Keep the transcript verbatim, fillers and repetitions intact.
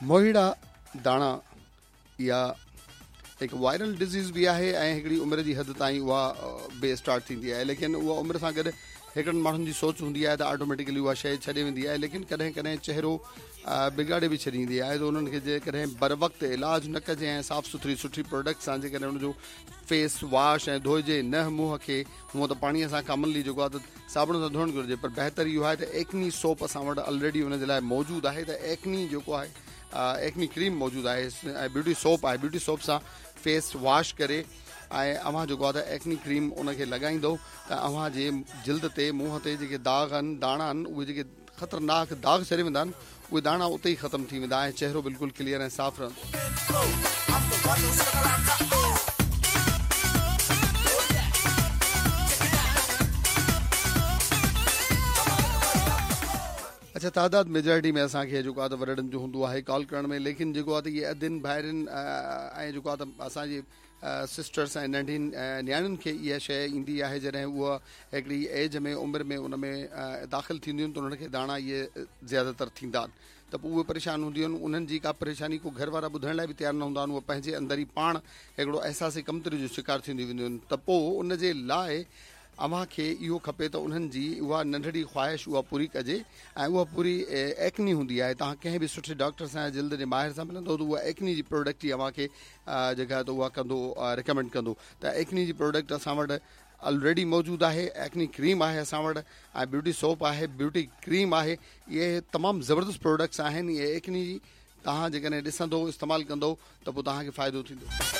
موهيڙا داڻا اها هڪ وائرل ڊزيز به آهي ۽ هڪڙي عمر جي حد تائين اها به اسٽارٽ ٿيندي آهي، ليڪن اها عمر سان گڏ هڪڙن ماڻهن جي سوچ هوندي آهي ته آٽوميٽڪلي اها شيء ڇڏي ويندي آهي، ليڪن ڪڏهن ڪڏهن چهرو بگاڙي به ڇڏيندي آهي. ته انهن کي جيڪڏهن بر وقت علاج نه ڪجي ۽ صاف سٿري سٺي پروڊڪٽ سان جيڪڏهن ان جو فيس واش ۽ ڌوئجي نه منهن کي، هونء ته پاڻيء سان ڪامنلي جيڪو آهي ته صابڻ سان ڌوئڻ گهرجي، پر بهتر اهو آهي ته ايڪني سوپ اسان وٽ آلريڊي ان جي لاء موجود آهي. ته ايڪني جيڪو آهي ايڪني ڪريم موجود آهي ۽ بيوٽي سوپ آهي، بيوٽي سوپ سان فيس واش ڪري ۽ اوهان جيڪو آهي ته ايڪني ڪريم ان کي لڳائيندو ته اوهان جي جلد تي منهن تي جيڪي داغ آهن داڻا آهن اهي جيڪي خطرناڪ داغ ڇڏي ويندا آهن اهي داڻا اتي ئي ختم ٿي ويندا ۽ چهرو بلڪل ڪليئر ۽ صاف رهندو. اڇا تعداد ميجارٽي ۾ اسان کي جيڪو آهي ته وڏڙن جو هوندو آهي ڪال ڪرڻ ۾، ليڪن جيڪو آهي ته اهي ادين ڀائرين ۽ جيڪو آهي ته اسان جي سسٽرس ۽ ننڍين نياڻين کي اها شيء ايندي آهي، جڏهن اها هڪڙي ايج ۾ عمر ۾ ان ۾ داخل ٿينديون آهن ته انهن کي داڻا اهي زياده تر ٿيندا آهن ته پوء اهي پريشان هونديون آهن. انهن جي ڪا پريشاني ڪو گهر وارا ٻڌائڻ لاء به تيار نه هوندا آهن، اهي پنهنجي اندر ئي پاڻ هڪڙو احساس ڪمتري جو شڪار ٿينديون وينديون آهن. ته پوء ان جي لاء اوهان کي اهو کپي ته انهن جي اها ننڍڙي خواهش اها پوري ڪجي ۽ اها پوري ايڪني هوندي آهي. توهان ڪنهن به سٺي ڊاڪٽر سان يا جلد جي ماهر سان ملندو ته اها ايڪني جي پروڊڪٽ ئي اوهان کي جيڪا ته اها ڪندو ريڪمينڊ ڪندو. ته ايڪني جي پروڊڪٽ اسان وٽ آلريڊي موجود آهي، ايڪني ڪريم آهي اسان وٽ ۽ بيوٽي سوپ آهي، بيوٽي ڪريم آهي، اهي تمام زبردست پروڊڪٽس آهن. اهي ايڪني جي توهان جيڪڏهن ڏسندو استعمال ڪندو ته پوء توهان کي فائدو ٿيندو.